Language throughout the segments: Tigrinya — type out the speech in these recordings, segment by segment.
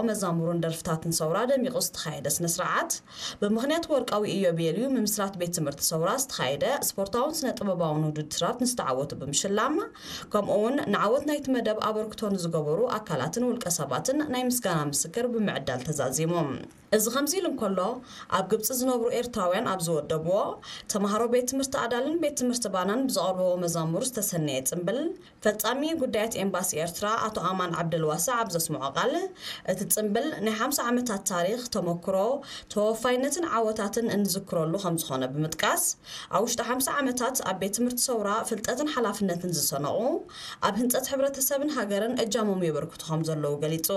መዛሙርን ደርፍታትን ሰውራ ደሚቑ ዝተኻየደ ስነ ስርዓት፣ ብምኽንያት ወርቃዊ ኢዮቤልዩ ምምስራት ቤት ትምህርቲ ሰውራ ዝተኻየደ ስፖርታውን ስነ ጥበባውን ውድድራት ንዝተዓወቱ ብምሽላም፣ ከምኡ እውን ንዓወት ናይቲ መደብ ኣበርክቶ ንዝገበሩ ኣካላትን ውልቀ ሰባትን ናይ ምስጋና ምስክር ብምዕዳል ተዛዚሙ። እዚ ከምዚ ኢሉ እንከሎ፣ ኣብ ግብጺ ዝነብሩ ኤርትራውያን ኣብ ዝወደብዎ፣ ተምሃሮ ቤት ትምህርቲ ኣዳልን ቤት ትምህርቲ ባናን ብዘቕርብዎ መዛሙር ዝተሰነየ ጽምብል፣ ፈጻሚ ጉዳያት ኤምባሲ ኤርትራ ኣቶ ኣማን ዓብደልዋሳዕ ኣብ ዘስምዖ ቃል፣ እቲ ጽምብል ናይ ሓምሳ ዓመታት ታሪኽ፣ ተመክሮ፣ ተወፋይነትን ዓወታትን እንዝክረሉ ከም ዝኾነ ብምጥቃስ፣ ኣብ ውሽጢ ሓምሳ ዓመታት ኣብ ቤት ትምህርቲ ሰውራ ፍልጠትን ሓላፍነትን ዝሰነቑ፣ ኣብ ህንጸት ሕብረተሰብን ሃገርን እጃሞም የበርክቱ ከም ዘለዉ ገሊጹ።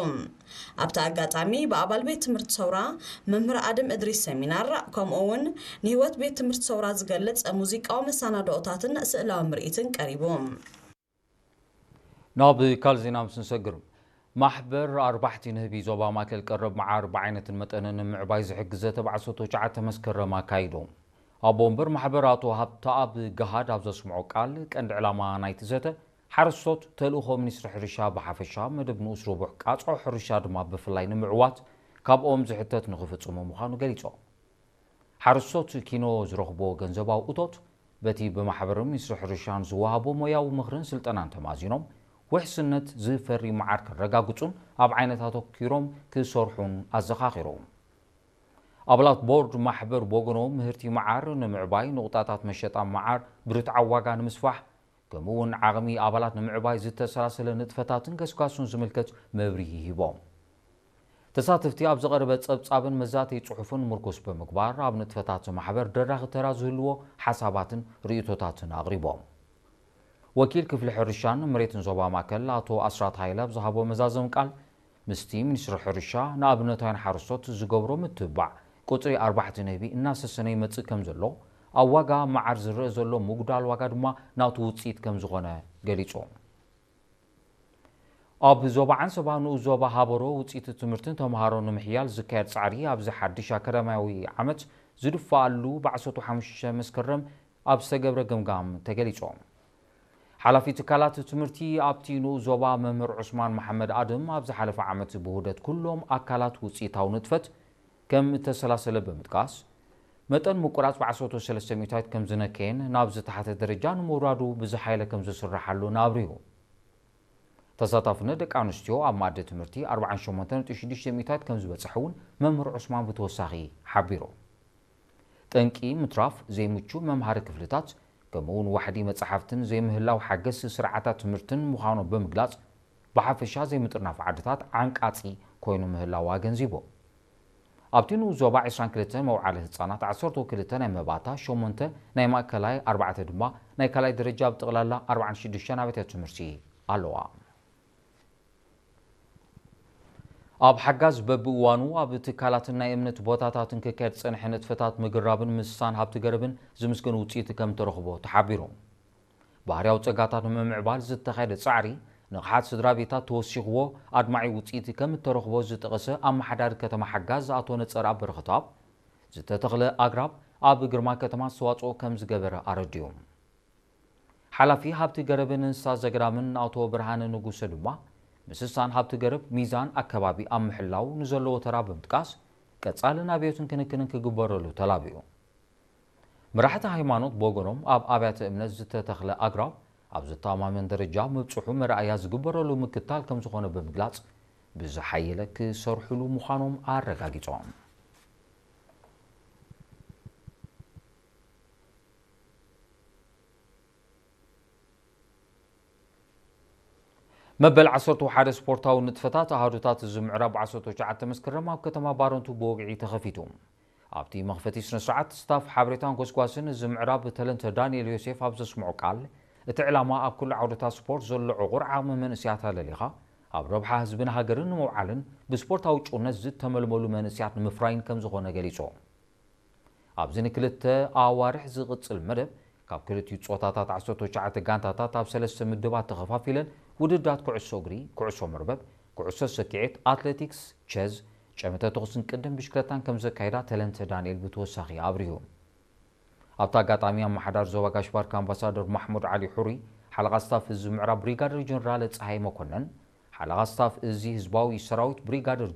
ኣብቲ ኣጋጣሚ ብኣባል ቤት ትምህርቲ ሰውራ መምህር ኣድም እድሪስ ሰሚናር፣ ከምኡ እውን ንህይወት ቤት ትምህርቲ ሰውራ ዝገልጽ ሙዚቃዊ መሰናድኦታትን ስእላዊ ምርኢትን ቀሪቡ። ናብ ካልእ ዜና ምስ ንሰግር፣ ማሕበር ኣርባሕቲ ንህቢ ዞባ ማእከል ቀረብ መዓር ብዓይነትን መጠንን ንምዕባይ ዝሕግዘ ተባዕሶ ትሽዓተ መስከረም ኣካይዱ። ኣቦ ወንበር ማሕበር ኣቶ ሃብተኣብ ገሃድ ኣብ ዘስምዖ ቃል፣ ቀንዲ ዕላማ ናይቲ ዘተ፣ ሓረስቶት ተልእኾ ሚኒስትሪ ሕርሻ ብሓፈሻ፣ መደብ ንኡስ ርቡሕ ቃጽዖ ሕርሻ ድማ ብፍላይ ንምዕዋት ካብኦም ዝሕተት ንኽፍጽሙ ምዃኑ ገሊጾም። ሓረስቶት ኪኖ ዝረኽብዎ ገንዘባዊ እቶት በቲ ብማሕበርን ሚኒስትሪ ሕርሻን ዝወሃቦ ሞያዊ ምኽርን ስልጠናን ተማዚኖም፣ ውሕስነት ዝፈሪ መዓር ከረጋግጹን ኣብ ዓይነታት ኣተኲሮም ክሰርሑን ኣዘኻኺሮም። ኣባላት ቦርድ ማሕበር ብወገኖም፣ ምህርቲ መዓር ንምዕባይ፣ ንቑጣታት መሸጣ መዓር ብርትዓዊ ዋጋ ንምስፋሕ፣ ከምኡ እውን ዓቕሚ ኣባላት ንምዕባይ ዝተሰላሰለ ንጥፈታትን ገስጋሱን ዝምልከት መብርሂ ሂቦም። ተሳተፍቲ ኣብ ዝቐረበ ጸብጻብን መዛተዪ ጽሑፍን ምርኩስ ብምግባር፣ ኣብ ንጥፈታት ማሕበር ደራኺ ተራ ዝህልዎ ሓሳባትን ርእይቶታትን ኣቕሪቦም። ወኪል ክፍሊ ሕርሻን መሬትን ዞባ ማእከል ኣቶ ኣስራት ሃይለ ኣብ ዝሃቦ መዛዘሚ ቃል፣ ምስቲ ሚኒስትሪ ሕርሻ ንኣብነታውያን ሓረስቶት ዝገብሮ ምትብባዕ፣ ቁጽሪ ኣርባሕቲ ንህቢ እናሰሰነ ይመጽእ ከም ዘሎ፣ ኣብ ዋጋ መዓር ዝረአ ዘሎ ምጉዳል ዋጋ ድማ ናቱ ውጽኢት ከም ዝኾነ ገሊጹ። ኣብ ዞባ ዓንሰባ ንኡስ ዞባ ሃበሮ ውጽኢት ትምህርትን ተምሃሮ ንምሕያል ዝካየድ ጻዕሪ ኣብዚ ሓድሽ ኣካዳሚያዊ ዓመት ዝድፈኣሉ ብዓሰርተ ሓሙሽተ መስከረም ኣብ ዝተገብረ ገምጋም ተገሊጾም። ሓላፊ ትካላት ትምህርቲ ኣብቲ ንኡስ ዞባ መምህር ዑስማን መሓመድ ኣድም ኣብ ዝሓለፈ ዓመት ብውህደት ኩሎም ኣካላት ውጽኢታዊ ንጥፈት ከም እተሰላሰለ ብምጥቃስ፣ መጠን ምቁራጽ ብዓሰርተ ሰለስተ ሚእታዊት ከም ዝነከየን ናብ ዝተሓተ ደረጃ ንምውራዱ ብዝሓየለ ከም ዝስርሓሉን ኣብሪሁ። ተሳታፍነት ደቂ ኣንስትዮ ኣብ መኣዲ ትምህርቲ ኣርባዓን ሸሞንተን ነጥቢ ሽዱሽተ ሚእታዊት ከም ዝበጽሐ እውን መምህር ዑስማን ብተወሳኺ ሓቢሩ። ጠንቂ ምትራፍ ዘይምቹ መምሃሪ ክፍልታት፣ ከምኡ እውን ዋሕዲ መጻሕፍትን ዘይምህላው ሓገዝቲ ስርዓታት ትምህርትን ምዃኑ ብምግላጽ፣ ብሓፈሻ ዘይምጥርናፍ ዓድታት ዓንቃጺ ኮይኑ ምህላው ኣገንዚቡ። ኣብቲ ንኡስ ዞባ ዕስራን ክልተን መውዓሊ ህጻናት፣ ዓሰርተ ክልተ ናይ መባእታ፣ ሸሞንተ ናይ ማእከላይ፣ ኣርባዕተ ድማ ናይ ካልኣይ ደረጃ፣ ብጠቕላላ ኣርባዓን ሽዱሽተን ኣብያተ ትምህርቲ ኣለዋ። ኣብ ሓጋዝ በብእዋኑ ኣብ ትካላትን ናይ እምነት ቦታታትን ክካየድ ዝጸንሐ ንጥፈታት ምግራብን ምስሳን ሃብቲ ገረብን ዝምስገን ውጽኢት ከም እተረኽቦ ተሓቢሩ። ባህርያዊ ጸጋታት ንምምዕባል ዝተኻየደ ጻዕሪ፣ ንቕሓት ስድራ ቤታት ተወሲኽዎ ኣድማዒ ውጽኢት ከም እተረኽቦ ዝጠቐሰ ኣመሓዳሪ ከተማ ሓጋዝ ኣቶ ነጸርኣብ በረኸትኣብ፣ ዝተተኽለ ኣግራብ ኣብ ግርማ ከተማ ኣስተዋጽኦ ከም ዝገበረ ኣረዲኡ። ሓላፊ ሃብቲ ገረብን እንስሳ ዘገዳምን ኣቶ ብርሃነ ንጉሰ ድማ፣ ምስሳን ሃብቲ ገረብ ሚዛን ኣከባቢ ኣብ ምሕላው ንዘለዎ ተራ ብምጥቃስ፣ ቀጻልን ኣብዮትን ክንክንን ክግበረሉ ተላቢኡ። መራሕቲ ሃይማኖት ብወገኖም፣ ኣብ ኣብያተ እምነት ዝተተኽለ ኣግራብ ኣብ ዘተኣማምን ደረጃ ምብጽሑ መርኣያ ዝግበረሉ ምክታል ከም ዝኾነ ብምግላጽ፣ ብዝሓየለ ክሰርሑሉ ምዃኖም ኣረጋጊጾም። መበል ዓሰርተ ሓደ ስፖርታዊ ንጥፈታት ኣሃዱታት እዚ ምዕራብ ዓሰርተ ትሽዓተ መስከረም ኣብ ከተማ ባረንቱ ብወግዒ ተኸፊቱ። ኣብቲ መኽፈቲ ስነ ስርዓት፣ ስታፍ ሓበሬታን ጎስጓስን እዚ ምዕራብ ተለንተ ዳንኤል ዮሴፍ ኣብ ዘስምዖ ቃል፣ እቲ ዕላማ ኣብ ኩሉ ዓውድታት ስፖርት ዘሎ ዕቑር ዓቕሚ መንእሰያት ኣለሊኻ፣ ኣብ ረብሓ ህዝብን ሃገርን ንምውዓልን ብስፖርታዊ ጭውነት ዝተመልመሉ መንእሰያት ንምፍራይን ከም ዝኾነ ገሊጹ። ኣብዚ ንክልተ ኣዋርሕ ዝቕጽል መደብ፣ ካብ ክልቲኡ ጾታታት ዓሰርተ ትሽዓተ ጋንታታት ኣብ ሰለስተ ምድባት ተኸፋፊለን ውድድራት ኩዕሶ እግሪ፣ ኩዕሶ መርበብ፣ ኩዕሶ ሰኪዔት፣ ኣትሌቲክስ፣ ቸዝ፣ ጨመተ ተኹስን ቅድም ብሽክለታን ከም ዘካይዳ ተለንተ ዳንኤል ብተወሳኺ ኣብሪሁ። ኣብቲ ኣጋጣሚ ኣመሓዳሪ ዞባ ጋሽ ባርካ ኣምባሳደር ማሕሙድ ዓሊ ሑሪ፣ ሓለቓ ስታፍ እዚ ምዕራብ ብሪጋደር ጀነራል ጸሃይ መኮነን፣ ሓለቓ ስታፍ እዚ ህዝባዊ ሰራዊት ብሪጋደር